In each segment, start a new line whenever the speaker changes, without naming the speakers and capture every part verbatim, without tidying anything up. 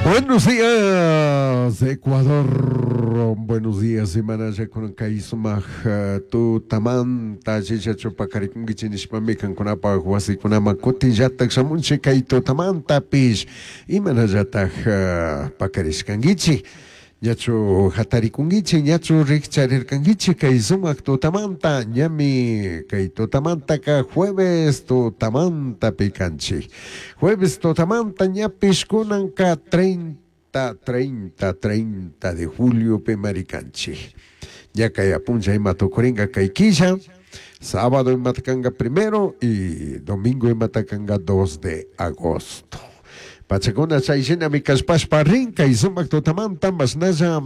Buenos días, Ecuador. Buenos días, imanalla kunan kay sumaq tutamanta chichachu pakarikunkichik nishpami kankunapaq wasikunaman kutinllatak shamunchik kay tutamantapish imanallatak pakarishkankichik ñachu hatarikunkichik ñachu rikcharirkankichik kay sumaq tutamanta ñami kay tutamantaka jueves tutamantapi kanchik jueves tutamanta ñapish kunanka treinta treinta treinta de julio pi marikanchik ya kay apuncha ima tukurinka kay killa sábado imata primero y domingo imata kanka dos de agosto pachakuna chay shinami kashpashpa rin kay sumak tutamanta mashnalla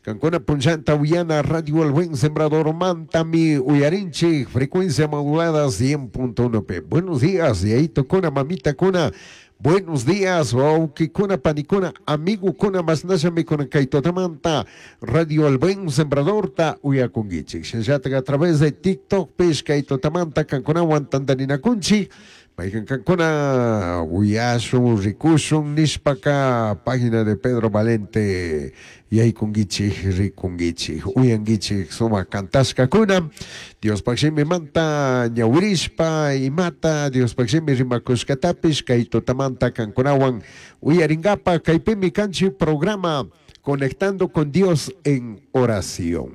kankuna punllanta uyana Radio El Buen Sembrador mantami uyarinchik frecuencia modulada cien punto uno P. Buenos días, yayitukuna, mamitakuna. Buenos días, wawkikuna, panikuna, amigokuna, mashnallami kunan kay tutamanta Radio El Buen Sembradorta uyakunkichik. Shinallatak a través de TikTok pish kay tutamanta kankunawan tantarinakunchik. Maykan kankuna uyashun, rikushun nishpaka página de Pedro Valente yaykunkichik, rikunkichik, uyankichik sumak kantashkakuna. Diospaj shimimanta ñawirishpa imata Diospaj shimi rimakushkatapish kay tutamanta kankunawan uyarinkapak kaypimi kanchik programa Conectando con Dios en Oración.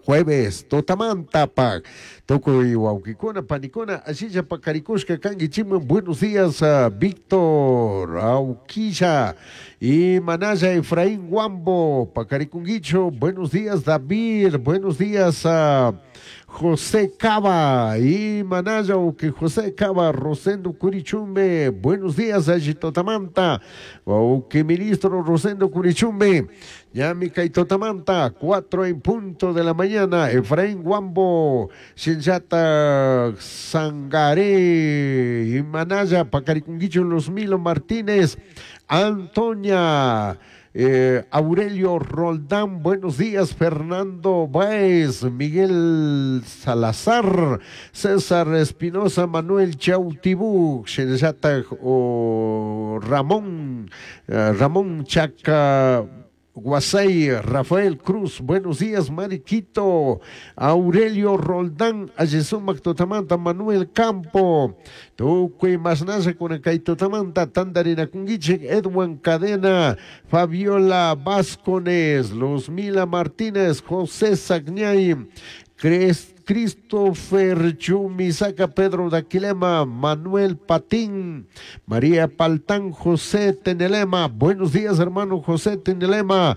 Jueves, tutamanta pak. Tukuy wawkikuna, panikuna, ashilla pakarikushka kankichikman. Buenos días, uh, Víctor Auquilla y Manaya Efraín Guambo, pakarikunguicho. Buenos días, David. Buenos días, uh, José Cava y Manaya que José Cava, Rosendo Curichumbe. Buenos días, Totamanta. Que ministro Rosendo Curichumbe. Ñami kay tutamanta, cuatro en punto de la mañana. Efraín Guambo, Shinjata Sangaré y Manaya, Pacarikunguicho, Los Milo Martínez, Antonia. Eh, Aurelio Roldán, buenos días, Fernando Báez, Miguel Salazar, César Espinosa, Manuel Chautibú, Shinjata o Ramón, eh, Ramón Chaca Guasay, Rafael Cruz, buenos días, Mariquito, Aurelio Roldán, Ayesumac Totamanta, Manuel Campo, Tukuy mashnalla kunan kay tutamanta, Tandarinakunguichik, Edwin Cadena, Fabiola Vázquez, Luzmila Martínez, José Sagñay, Christopher Chumisaca, Pedro Daquilema, Manuel Patín, María Paltán, José Tenelema. Buenos días, hermano José Tenelema.